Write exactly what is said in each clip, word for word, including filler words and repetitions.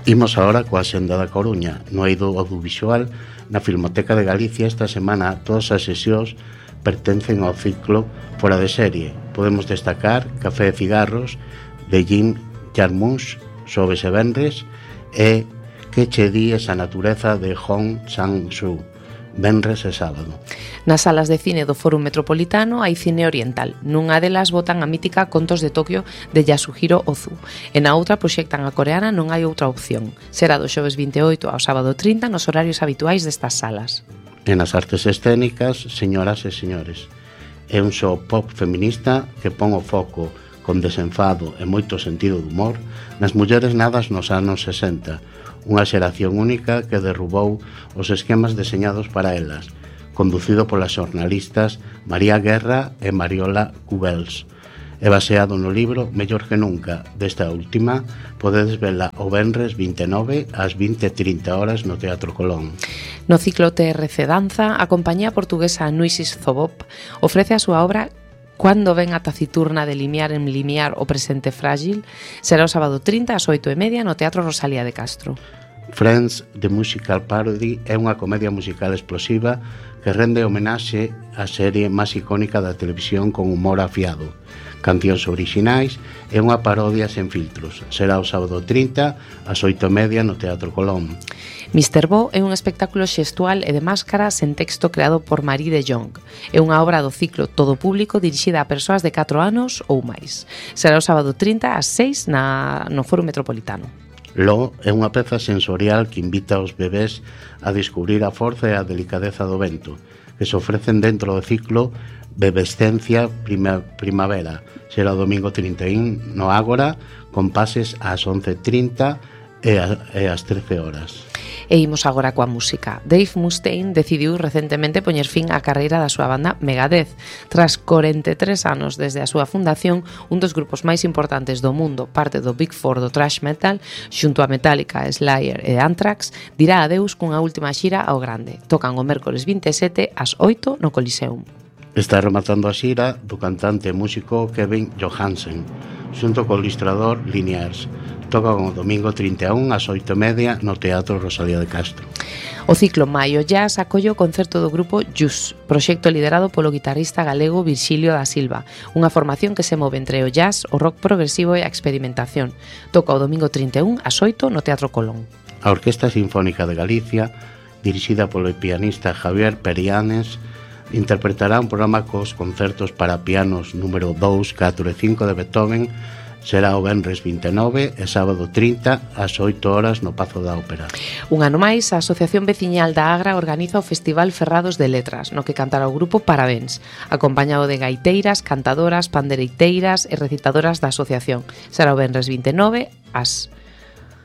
Imos agora coa Xenda da Coruña. No eido audiovisual, na Filmoteca de Galicia, esta semana todas as sesións pertencen ao ciclo Fora de Serie. Podemos destacar Café e Cigarros, de Jim Jarmusch, Xoves e Venres, e Que che di esa natureza, de Hong Sang-soo, venres e sábado. Nas salas de cine do Fórum Metropolitano hai cine oriental. Nunha delas botan a mítica Contos de Tokio de Yasuhiro Ozu, e na outra proxectan a coreana Non hai outra opción. Será do xoves vinte e oito ao sábado trinta nos horarios habituais destas salas. E nas artes escénicas, Señoras e Señores, é un show pop feminista que pon o foco con desenfado e moito sentido de humor nas mulleres nadas nos anos sesenta, unha xeración única que derrubou os esquemas deseñados para elas, conducido polas xornalistas María Guerra e Mariola Cubels. É baseado no libro Mellor que Nunca. Desta última podedes vela o venres vinte e nove ás vinte e trinta horas no Teatro Colón. No ciclo T R C Danza, a compañía portuguesa Nuisis Zobop ofrece a súa obra Cando ven a taciturna de limiar en limiar o presente frágil. Será o sábado trinta ás oito e media no Teatro Rosalía de Castro. Friends, The Musical Parody, é unha comedia musical explosiva que rende homenaxe á serie máis icónica da televisión con humor afiado, cancións orixinais e unha parodia sen filtros. Será o sábado trinta ás oito e media no Teatro Colón. mister Bo é un espectáculo xestual e de máscara sen texto creado por Marie de Jong. É unha obra do ciclo Todo Público dirixida a persoas de catro anos ou máis. Será o sábado trinta ás seis na, no Foro Metropolitano. Lo é unha peza sensorial que invita aos bebés a descubrir a forza e a delicadeza do vento, que se ofrecen dentro do ciclo Bebescencia prima, Primavera. Será o domingo trinta e un no Ágora, con pases ás once e trinta e ás trece horas. E imos agora coa música. Dave Mustaine decidiu recentemente poñer fin á carreira da súa banda Megadeth. Tras corenta e tres anos desde a súa fundación, un dos grupos máis importantes do mundo, parte do Big Four do thrash metal, xunto a Metallica, Slayer e Anthrax, dirá adeus cunha última xira ao grande. Tocan o mércores vinte e sete ás oito no Coliseum. Está rematando a xira do cantante e músico Kevin Johansen, xunto co ilustrador Liniers. Toca o domingo trinta e un ás oito e media no Teatro Rosalía de Castro. O ciclo Maio Jazz acolle o concerto do grupo Jus, proxecto liderado polo guitarrista galego Virxilio da Silva, unha formación que se move entre o jazz, o rock progresivo e a experimentación. Toca o domingo trinta e un ás oito no Teatro Colón. A Orquesta Sinfónica de Galicia, dirixida polo pianista Javier Perianes, interpretará un programa cos concertos para pianos número dous, catro e cinco de Beethoven. Será o venres vinte e nove e sábado trinta ás oito horas no Pazo da Ópera. Un ano máis, a Asociación Veciñal da Agra organiza o Festival Ferrados de Letras, no que cantará o grupo Parabéns, acompañado de gaiteiras, cantadoras, pandereiteiras e recitadoras da asociación. Será o venres vinte e nove ás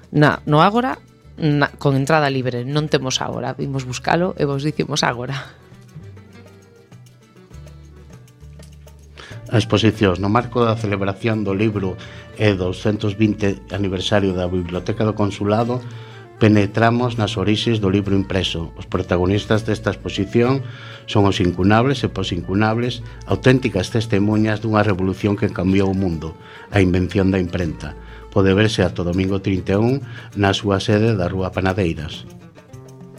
na, no Ágora, na, con entrada libre. Non temos agora, vimos buscalo e vos dicimos agora. A exposición no marco da celebración do libro e doscientos vinte aniversario da Biblioteca do Consulado, penetramos nas orixes do libro impreso. Os protagonistas desta exposición son os incunables e posincunables, auténticas testemunhas dunha revolución que cambiou o mundo, a invención da imprenta. Pode verse ata o domingo trinta e un na súa sede da Rúa Panadeiras.